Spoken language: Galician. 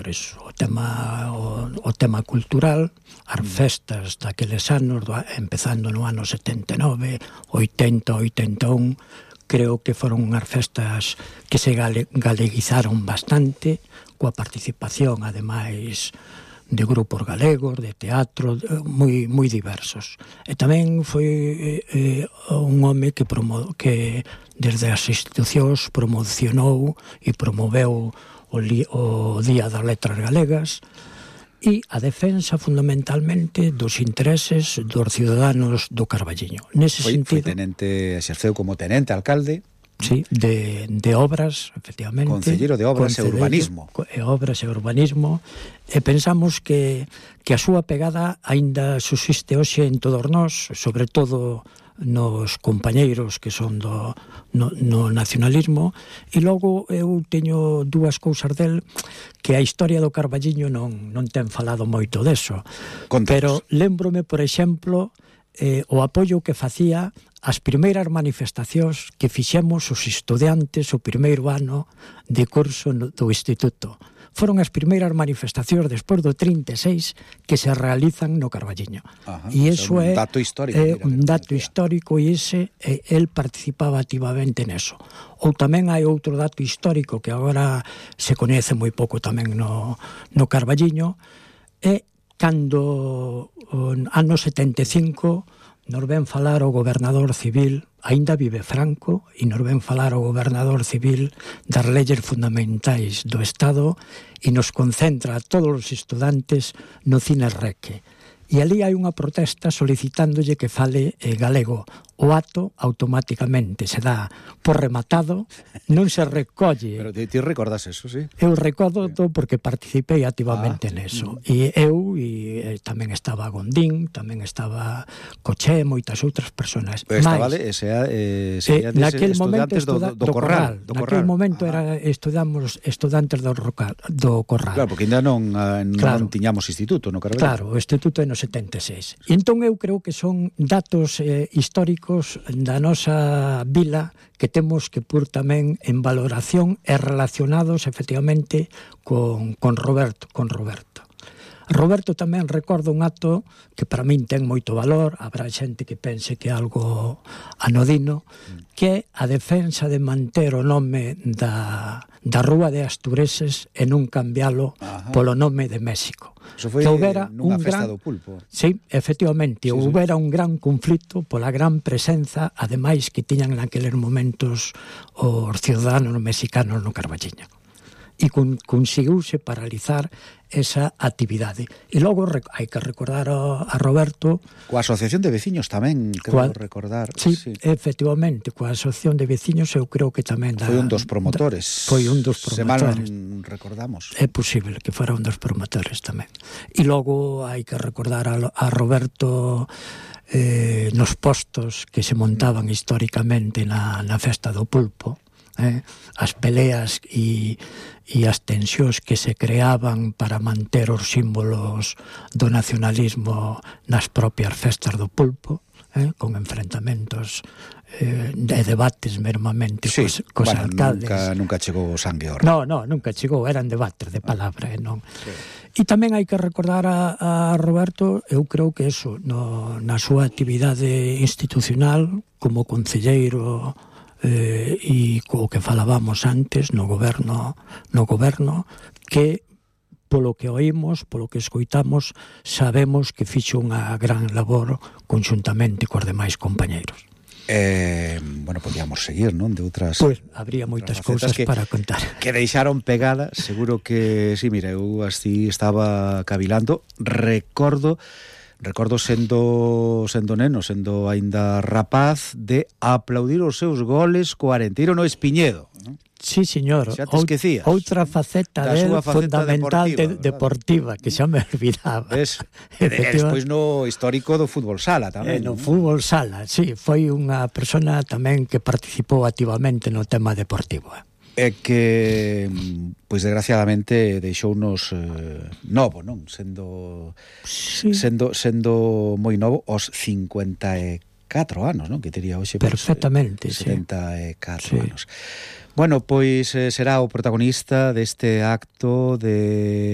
por eso, o tema cultural, as festas daqueles anos, empezando no ano 79, 80, 81, creo que foron unhas festas que se galeguizaron bastante, coa participación, ademais, de grupos galegos, de teatro, moi diversos. E tamén foi un home que desde as institucións promocionou e promoveu o Día das Letras Galegas e a defensa fundamentalmente dos intereses dos ciudadanos do Carballiño. Nese sentido, foi tenente, exerceu como tenente alcalde. Sí, de obras, efectivamente. Concelleiro de Obras e Urbanismo. Obras e Urbanismo. E pensamos que a súa pegada aínda subsiste hoxe en todos nós, sobre todo nos compañeiros que son no nacionalismo. E logo eu teño dúas cousas del que a historia do Carballiño non ten falado moito deso. Pero lembrome, por exemplo, o apoio que facía as primeiras manifestacións que fixemos os estudantes o primeiro ano de curso do instituto. Foron as primeiras manifestacións despois do 36 que se realizan no Carballiño. E iso é un dato histórico e el participaba activamente neso. Ou tamén hai outro dato histórico que agora se coñece moi pouco tamén no Carballiño, é cando ano 75 nos ven falar o gobernador civil, aínda vive Franco, e nos ven falar o gobernador civil das leyes fundamentais do Estado e nos concentra a todos os estudantes no Cine Reque. E ali hai unha protesta solicitándolle que fale galego. O acto automáticamente se dá por rematado, non se recolle. Pero ti recordas eso, sí? Eu recordo porque participei activamente neso. E eu, e tamén estaba Gondín, tamén estaba Coché, moitas outras persoas. Estaba naquel momento do Corral. Naquel momento estudantes do Corral. Claro, porque ainda non tiñamos instituto no Carballo. Claro, o instituto é no 76. E entón eu creo que son datos históricos da nosa vila que temos que pôr tamén en valoración e relacionados efectivamente con Roberto. Roberto tamén recorda un acto que para min ten moito valor, habrá xente que pense que é algo anodino, que é a defensa de manter o nome da Rúa de Astureses e non cambialo polo nome de México. Eso foi nunha festa do pulpo. Sí, efectivamente, houbera un gran conflito pola gran presenza, ademais que tiñan naqueles momentos os ciudadanos mexicanos no Carballiño. E conseguiuse paralizar esa actividade. E logo hai que recordar a Roberto... Coa Asociación de Veciños tamén, creo recordar. Sí, efectivamente, coa Asociación de Veciños eu creo que tamén... Foi un dos promotores. Foi un dos promotores. Se mal recordamos. É posible que fora un dos promotores tamén. E logo hai que recordar a Roberto nos postos que se montaban históricamente na festa do pulpo. As peleas e as tensións que se creaban para manter os símbolos do nacionalismo nas propias festas do pulpo, con enfrentamentos e debates mermamente cos alcaldes. Nunca chegou o sangue ao No, nunca chegou, eran debates de palabra, non? E tamén hai que recordar a Roberto, eu creo que eso, na súa actividade institucional como concelleiro e co que falábamos antes no goberno que polo que oímos, polo que escoitamos sabemos que fixo unha gran labor conxuntamente cos demais compañeiros. Bueno, podíamos seguir, non? De outras... Pois, habría moitas cousas para contar. Que deixaron pegada, seguro que... Sí, mira, eu así estaba cavilando. Recordo sendo neno, sendo aínda rapaz, de aplaudir os seus goles co Arenteiro no Espiñedo. Sí, señor. Xa te esquecías. Outra faceta fundamental deportiva, que xa me olvidaba. Despois no histórico do fútbol sala tamén. No fútbol sala, sí. Foi unha persona tamén que participou activamente no tema deportivo. É que, pois desgraciadamente, deixounos novo, non? Sendo moi novo, os 54 anos, non? Que tería hoxe... Perfectamente, 74 anos. Bueno, pois será o protagonista deste acto de